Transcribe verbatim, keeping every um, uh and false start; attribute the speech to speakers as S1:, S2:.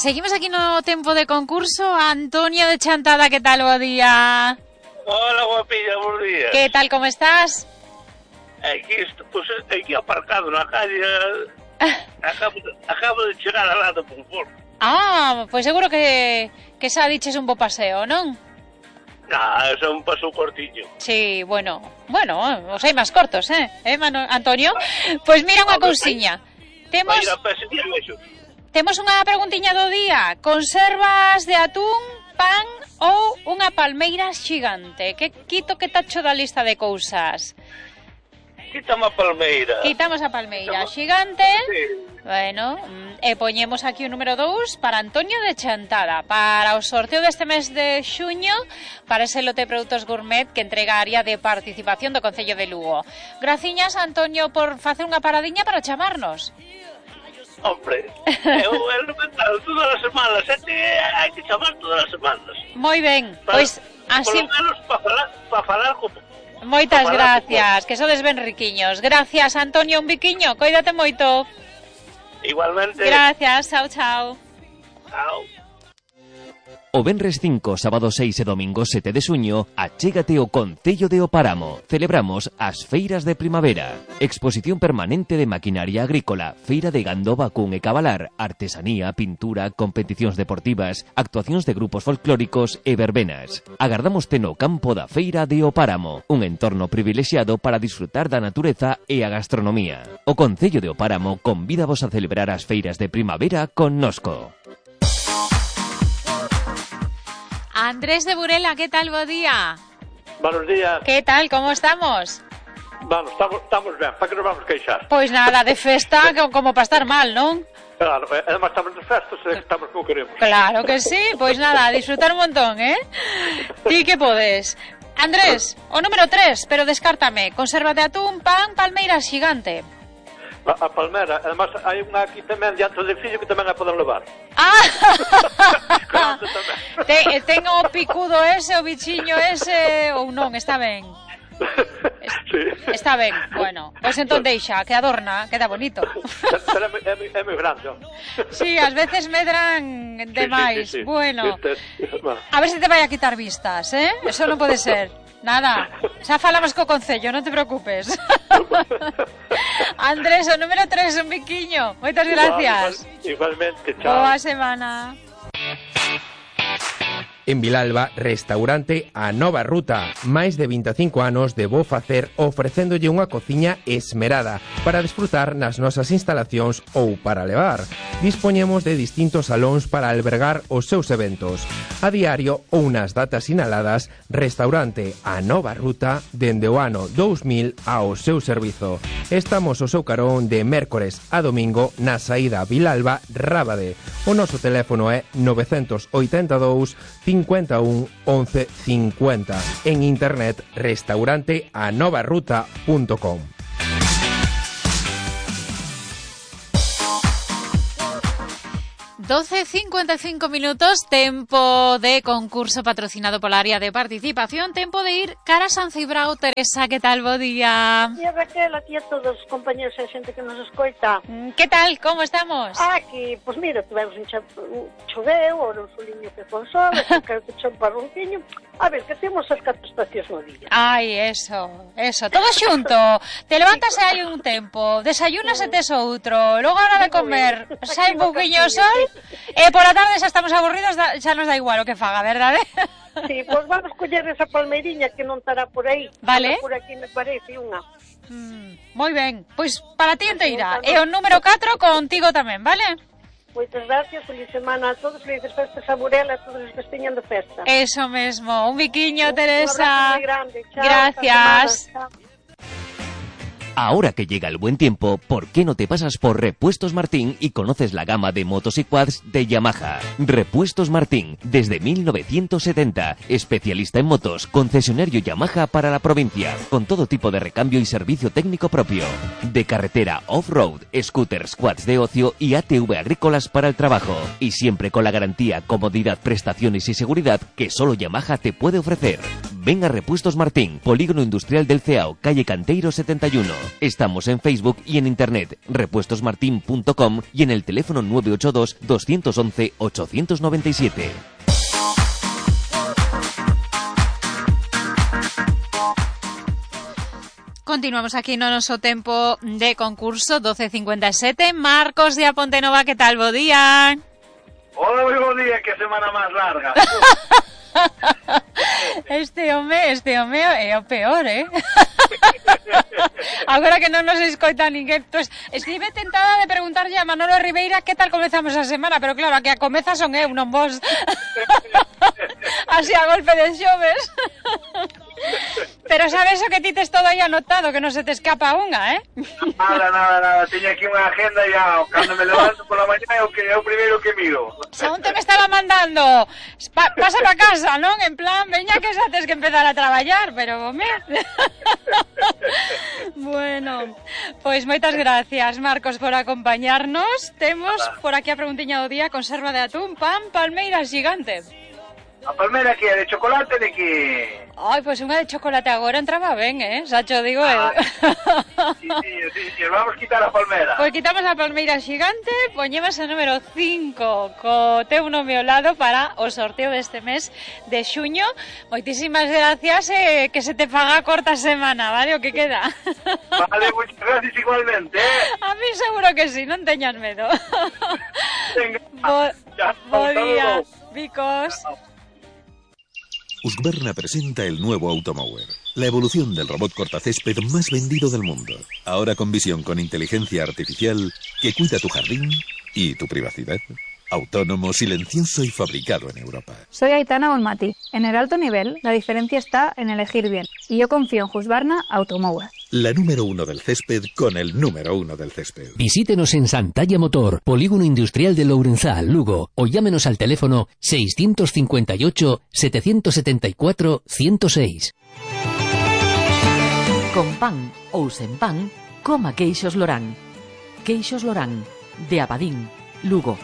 S1: seguimos aquí no tempo de concurso. Antonio de Chantada, que tal, bo día?
S2: Hola, guapilla, buenos días.
S1: Que tal, como estás?
S2: Aquí, pues, aquí aparcado na calle. Acabo de, acabo de chegar al lado por favor.
S1: Ah, pois pues seguro que que xa diches un bo paseo, non?
S2: Nah, é un paso cortillo.
S1: Sí, bueno, bueno, os hai máis cortos, eh? Eh, Mano, Antonio? Pois pues mira unha cousiña. Temos Temos unha preguntiña do día. Conservas de atún, pan ou unha palmeira xigante? Que quito que tacho da lista de cousas?
S2: Quítame a palmeira.
S1: Quitamos a palmeira Quitamos... xigante.
S2: Sí.
S1: Bueno, e poñemos aquí o número dous para Antonio de Chantada, para o sorteo deste mes de xuño, para ese lote de produtos gourmet que entrega a área de participación do Concello de Lugo. Graciñas, Antonio, por facer unha paradiña para chamarnos.
S2: Hombre, eu elemental todas as semanas, e hai que chamar todas as semanas.
S1: Moi ben, pois así...
S2: Por lo menos para falar, para falar como...
S1: Moitas gracias, que sodes ben riquiños. Gracias, Antonio, un biquiño, coídate moito.
S2: Igualmente.
S1: Gracias, chao, chao.
S2: Chao.
S3: O venres cinco, sábado seis e domingo sete de xuño, achégate ao Concello de O Páramo. Celebramos as feiras de primavera. Exposición permanente de maquinaria agrícola, feira de gando, vacún e cabalar, artesanía, pintura, competicións deportivas, actuacións de grupos folclóricos e verbenas. Agardámoste no campo da feira de O Páramo, un entorno privilexiado para disfrutar da natureza e a gastronomía. O Concello de O Páramo convídavos a celebrar as feiras de primavera con Nosco.
S1: Andrés de Burela, ¿qué tal? Buen día.
S4: Buenos días.
S1: ¿Qué tal? ¿Cómo estamos?
S4: Bueno, estamos, estamos ben, para que nos vamos queixar?
S1: Pois nada, de festa como para estar mal, non?
S4: Claro, además estamos de festas e estamos como queremos.
S1: Claro que sí, pois nada, a disfrutar un montón, eh? Ti que podes. Andrés, o número tres, pero descártame. Conserva de atún, pan, palmeira xigante.
S4: A, a palmera, además hai unha aquí tamén diante do edificio que tamén a poden levar.
S1: Ah! Te, ten o picudo ese, o bichiño ese, ou non, está ben.
S4: Sí.
S1: Está ben, bueno, pois entón deixa, que adorna, queda bonito.
S4: Pero é, é, é moi grande.
S1: Sí, ás veces medran demais.
S4: Sí, sí, sí, sí.
S1: Bueno,
S4: sí, sí, sí.
S1: A ver se te vai a quitar vistas, eh? Eso non pode ser. Nada, xa falamos co Concello, non te preocupes. Andrés, o número tres, un biquiño. Moitas gracias.
S4: Igual, igualmente, chao.
S1: Boa semana.
S5: En Vilalba, restaurante A Nova Ruta. Máis de vinte e cinco anos de bo facer ofrecéndolle unha cociña esmerada para desfrutar nas nosas instalacións ou para levar. Dispoñemos de distintos salóns para albergar os seus eventos. A diario ou nas datas sinaladas, restaurante A Nova Ruta dende o ano dous mil ao seu servizo. Estamos ao seu carón de mércores a domingo na saída Vilalba-Rábade. O noso teléfono é nove oito dous, cincuenta e un, once cincuenta. En internet, restaurante a nova ruta punto com.
S1: doce cincuenta y cinco minutos, tempo de concurso patrocinado pola área de participación, tempo de ir cara a San Cibrao. Teresa, que tal, bo día?
S6: E Raquel, aquí a todos os compañeros e xente que nos escoita.
S1: Que tal, como estamos?
S6: Aquí, pois pues mira, tivemos un, un choveu, ou un soliño que con sol, que te chon parrunquiño. A ver, que temos as catro estacións no día.
S1: Ai, eso, eso, todo xunto. Te levantas e hai un tempo, desayunas e tes outro, logo a hora de comer, sai un pouquiño o sol, e por a tarde xa estamos aburridos, xa nos dá igual o que faga, verdade?
S6: Sí, pois vamos coller esa palmeiriña que non estará por aí.
S1: Vale.
S6: Por aquí me parece unha.
S1: Mm, moi ben, pois para ti enteira. E o número catro contigo tamén, vale?
S6: Moitas gracias, feliz semana a todos, felices festas a Burela, a todos os que esteñan de festa.
S1: Eso mesmo, un biquiño, Teresa.
S6: Un abrazo moi grande, chao.
S1: Gracias.
S3: Ahora que llega el buen tiempo, ¿por qué no te pasas por Repuestos Martín y conoces la gama de motos y quads de Yamaha? Repuestos Martín, desde mil novecientos setenta, especialista en motos, concesionario Yamaha para la provincia, con todo tipo de recambio y servicio técnico propio. De carretera, off-road, scooters, quads de ocio y A T V agrícolas para el trabajo. Y siempre con la garantía, comodidad, prestaciones y seguridad que solo Yamaha te puede ofrecer. Ven a Repuestos Martín, Polígono Industrial del Ceao, calle Canteiro setenta y uno. Estamos en Facebook y en Internet, repuestos martin punto com y en el teléfono nueve ocho dos, dos once, ocho nueve siete.
S1: Continuamos aquí no noso tempo de concurso doce cincuenta e sete. Marcos de A Ponte Nova, que tal? Bo día.
S2: Hola, moi bo día, que semana máis larga.
S1: Este home, este home é o peor, eh? Agora que non nos escoita ninguén, pues, estive tentada de preguntarlle a Manolo Ribeira que tal comezamos a semana, pero claro, a que a comeza son eu, non vos. Así a golpe de xoves. Pero sabes o que ti tes todo aí anotado, que non se te escapa unha, eh?
S2: Nada, nada, nada, teño aquí unha agenda ya, cando me levanto pola mañá é o que é o primeiro que miro.
S1: Según te me estaba mandando, pa, pasa pa casa, non? En plan, veña que xa tes que empezar a traballar, pero, home... Bueno, pois moitas gracias, Marcos, por acompañarnos. Temos por aquí a preguntiña do día: conserva de atún, pan, palmeira xigante.
S2: A palmera que é de chocolate, de que...
S1: Ai, pois unha de chocolate agora entraba ben, eh? Xa cho digo eu.
S2: Ah, sí, sí, sí, sí, vamos quitar a palmera.
S1: Pois quitamos a palmeira xigante, poñemos a número cinco co teu nome ao lado para o sorteo deste mes de xuño. Moitísimas gracias, eh, que se te faga corta semana, vale? O que queda.
S2: Vale, moitas gracias igualmente, eh?
S1: A mí seguro que sí, non teñas medo.
S2: Venga,
S1: Bo,
S2: ya,
S1: bo día,
S2: saludos.
S1: Vicos.
S7: Husqvarna presenta el nuevo Automower, la evolución del robot cortacésped más vendido del mundo. Ahora con visión con inteligencia artificial que cuida tu jardín y tu privacidad. Autónomo, silencioso y fabricado en Europa.
S8: Soy Aitana Bonmati. En el alto nivel, la diferencia está en elegir bien. Y yo confío en Husqvarna Automower.
S7: La número uno del césped con el número uno del césped.
S9: Visítenos en Santalla Motor, Polígono Industrial de Lourenzá, Lugo, o llámenos al teléfono seiscientos cincuenta y ocho, setecientos setenta y cuatro, ciento seis.
S10: Con pan ou sen pan, coma queixos Lorán. Queixos Lorán, de Abadín, Lugo.